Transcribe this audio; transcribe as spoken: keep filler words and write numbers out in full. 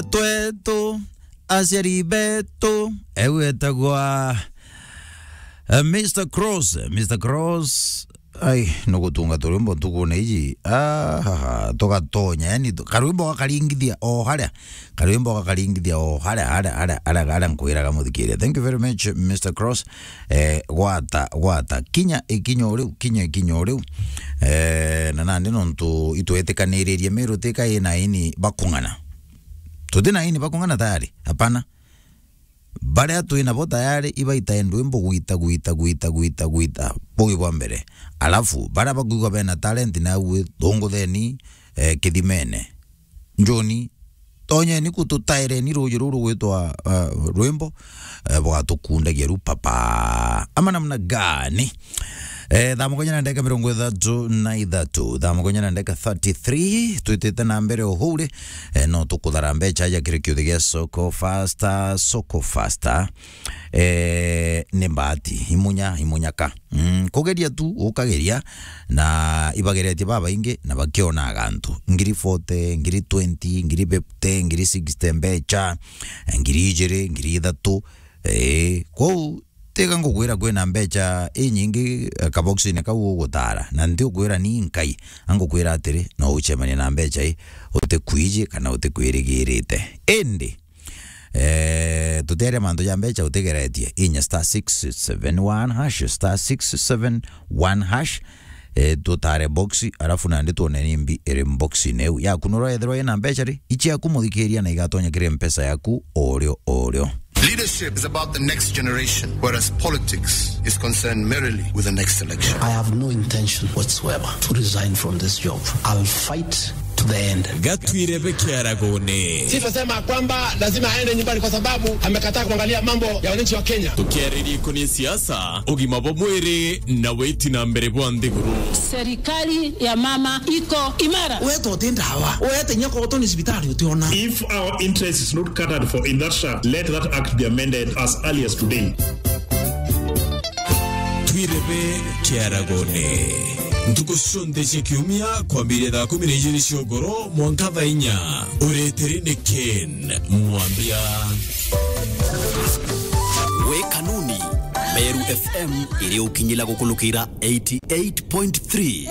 twetu, aciari betu, eu etagwa, eh, Mister Cross, Mister Cross. Ai, nugutunga turwimbo ntukune iji. Ah, ha, ha, tugatonya, yani, tu-, karwimbo gakaringithia o haria. Karwimbo gakaringithia o haria, haria, haria, haria, haria nkwiraga muthikiria. Thank you very much, Mister Cross. Eh, gwata, gwata. Kinya ikinya o riu, kinya ikinya o riu. Eh, na nandi nontu itwetikaniririe Meru tika ina ini bakung'ana. Tuti na ini bakung'ana tayari. Hapana. Baria twi nabo tayari ibaitae ndwimbo gwita, gwita, gwita, gwita, gwita. Bugi bwa mbere. Alafu, baria bakwigua bena talent na uwe thungutheni, eh, kithimene. Njoni, tonyeni ku tutaireni ruuji ruru rugwitwa, eh, rwimbo, eh, bwatukundagia ru papa. Ama namna gani? Eh, thaa mugonya na ndeka mirongo ithatu na ithatu, thaa mugonya na ndeka thirty-three, twitite na mbere o huu ri, eh, no tukuthara mbecha aja kiri kiuthi gia Soko Faster, Soko Faster. Eh, ni mbati, imunya, imunyaka. Mm, kugeria tu, ukageria, na ibageretie babaingi, na bakionaga antu. Ngiri forty, ngiri twenty, ngiri fifty, ngiri sixty mbecha, ngiri ijiri, ngiri ithatu. Eh, kwou, tiga ngukwira kwina mbecha inyingi, eh, kaboxine kau ugutara, na nti ukwira ni nkai, angukwira atiri, no ucemania na mbecha i, utikwiji kana utikwirigirite. Indi, eh, tuteria mantu ja mbecha utigeretie, inya star six seven one hash, star six seven one hash, eh, tutare box, alafu nandi tuone ni mbi iri boxine iu. Yaku nurethirwa ina mbecha ri, ichiaku muthikiria na igatonya kiri mpesa yaku orio orio. Leadership is about the next generation, whereas politics is concerned merely with the next election. I have no intention whatsoever to resign from this job. I'll fight to the end. Gatwire be kiaragone. Sifasema kwamba lazima aende nyumbani kwa sababu amekataa kuangalia mambo ya wananchi wa Kenya. Tukiaririe kuni siasa, ugima bwa mwiri na witi na mbere bwa nthiguru. Serikali ya mama iko imara. Wetu uti ndawa. Wete nyako utoni cibitari utiona. If our interest is not catered for in that shaft, let that act be amended as early as today. Twirebe kiaragone. Ntuku cionthe cia kiumia kwambiria thaa kumi na ijiri cia ugoro mwanka thaa inya. Ureteri ni Ken Mwambia. We kanuni, Meru F M iri ukinyila gukulukira eighty-eight point three.